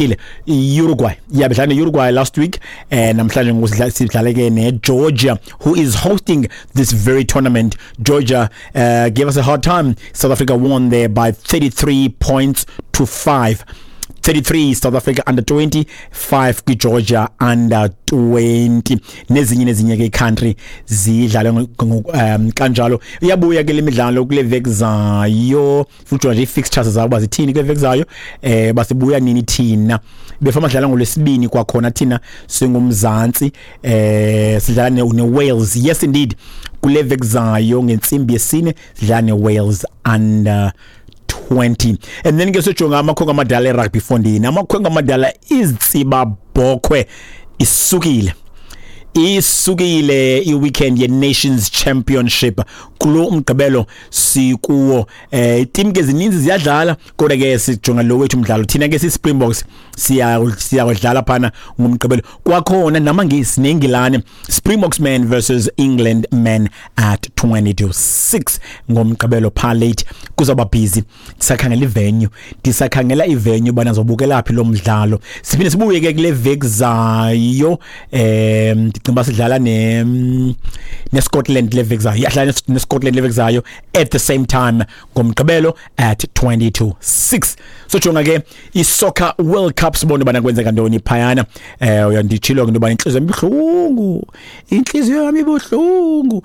Ile Uruguay, yeah, bedlala ne-Uruguay last week. Namhlanje ngoku sidlale ke ne-Georgia, who is hosting this very tournament. Georgia gave us a hard time. South Africa won there by 33 points to 5. 33 South Africa under 20, 5 kwiGeorgia under 20. Nezinye ke country zidlale kanjalo. Iyabuya ke lemidlalo kule veki zayo futhi nje fixtures zabo bazithini kule veki zayo, basibuya nini thina befama dlala ngolwesibini. Kwakhona thina singumzantsi sidlala ne Wales. Yes indeed, kule veki zayo ngentsimbi yesine sidlala ne Wales under 20. And then ke sojonga amakhwenkwe amadala erugby fondini. Amakhwenkwe amadala, izitsiba bhokhwe isukile i-weekend ye-Nations Championship kulo umgqibelo sikuwo. Team ke zininzi ziyadlala, kodwa ke sijonga lo wethu umdlalo. Thina ke si-Springboks siyakudlala phana ngomgqibelo kwakhona namaNgisi neNgilane. Springboks men versus England men at 20 to 6 ngomgqibelo pha late. Kuzawuba busy. Ndisakhangela ivenue bana zobukela phi lo mdlalo. Siphinde sibuye ke kule veki zayo. Ndicinga uba sidlala ne neScotland le veki zayo. Yadlala neScotland le veki zayo at the same time ngomgqibelo at 20 to 6. So jonga ke i-Soccer World Cup, sibone bana kwenzeka ntoni phayana. Uyanditshilo ke into yobana intliziyo yami ibuhlungu, intliziyo yami ibuhlungu.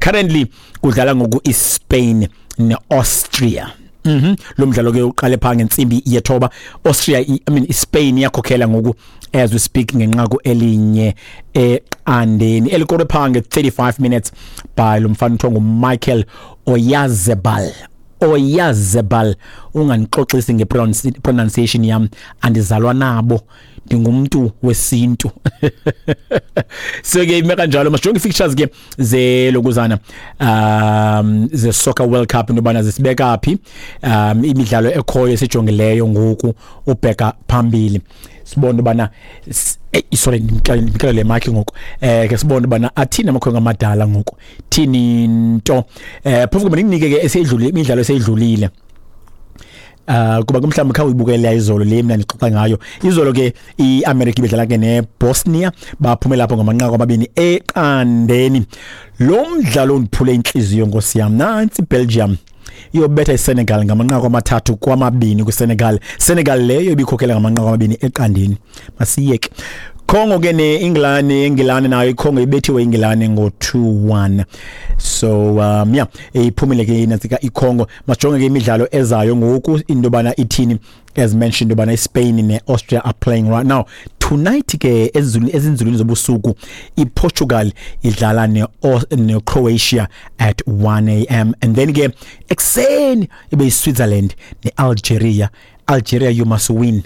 Currently kudlala ngoku iSpain neAustria. Lo mdlalo ke uqale pha ngentsimbi yethoba. Austria, I mean iSpain iyakhokhela ngoku as we speak ngenqaku elinye eqandeni, elikore pha nge-35 minutes by lo mfana kuthiwa nguMichael Oyarzabal. Oyarzabal, unganixoxisi nge-pronunciation yam, andizalwa nabo, ndingumntu wesintu. So ke ime kanjalo. Masijonge i-fixtures ke zelokuzana ze Soccer World Cup, into yobana zisibeka phi imidlalo ekhoyo esijongileyo ngoku ubheka phambili. Sibone ubana, sorry, ndimxelele le mic ngoku. Ke sibone ubana athini amakhwenkwe amadala ngoku, thini nto. Phofu ke mandinike ke eseyidlulile, imidlalo eseyidlulile, kuba ke mhlawumbi khawuyibukela izolo le mina ndixoxa ngayo. Izolo ke iAmerica ibidlala ke neBosnia, baphumela lapho ngamanqaku 2-0. Lo mdlalo undiphule inhliziyo, nkosi yam. Nantsi iBelgium iyobetha iSenegal ngamanqaku 3-2 kwiSenegal. Senegal leyo ibikhokhela ngamanqaku 2-0. Masiyeke Congo ke neEngland. Engilane nayo iCongo ibethiwe iNgilane ngo-2-1. So yeah, iphumile ke inatsika iCongo. Masijonge ke imidlalo ezayo ngoku, into yobana ithini. As mentioned, yobana iSpain neAustria are playing right now. Tonight ke ezinzulwini zobusuku iPortugal idlala neCroatia at 1 a.m., and then ke ekuseni ibe iSwitzerland neAlgeria. Algeria, you must win,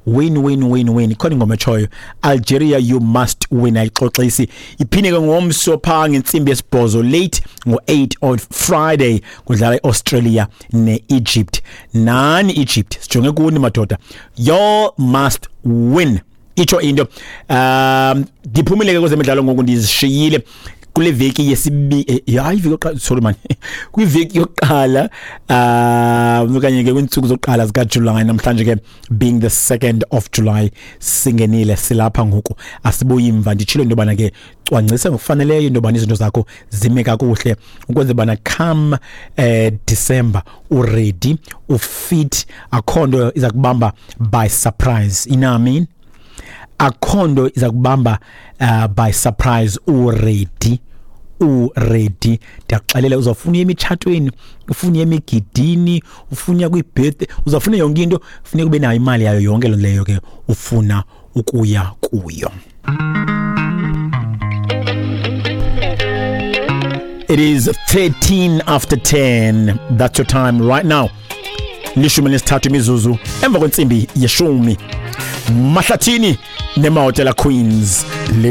win, win, win, win. Ikhona ingoma etshoyo, "Algeria, you must win." Ayixoxisi. Iphinde ke ngomso pha ngentsimbi yesibhozo late, ngo-8 on Friday, kudlala iAustralia neEgypt. Nani Egypt, sijonge kuni madoda, you must win. Itsho into. Ndiphumile ke kwezemidlalo ngoku, ndizishiyile kule veki yesibi, hayi, iveki yokuqala, sorry man, kwiveki yokuqala okanye ke kwiintsuku zokuqala zikaJuly. Namhlanje ke being the 2nd of July, singenile, silapha ngoku, asibuyi mva. Nditshilo into yobana ke cwangcisa ngokufaneleyo into yobana izinto zakho zime kakuhle ukwenzela bana come December uready, ufit, akho nto iza kubamba by surprise, you know what I mean? Akho nto iza kubamba by surprise, uready, uready. Ndiyakuxelela, uzawufuna uya emitshatweni, ufuna uya emigidini, ufuna uya kwi-birthday, uzawufuna yonke into, funeka ube nayo imali yayo yonke loo nto leyo ke ufuna ukuya kuyo. It is 13 after 10. That's your time right now. 13 imizuzu emva kwentsimbi yeshumi. Mahlathini neMahotella Queens. Leli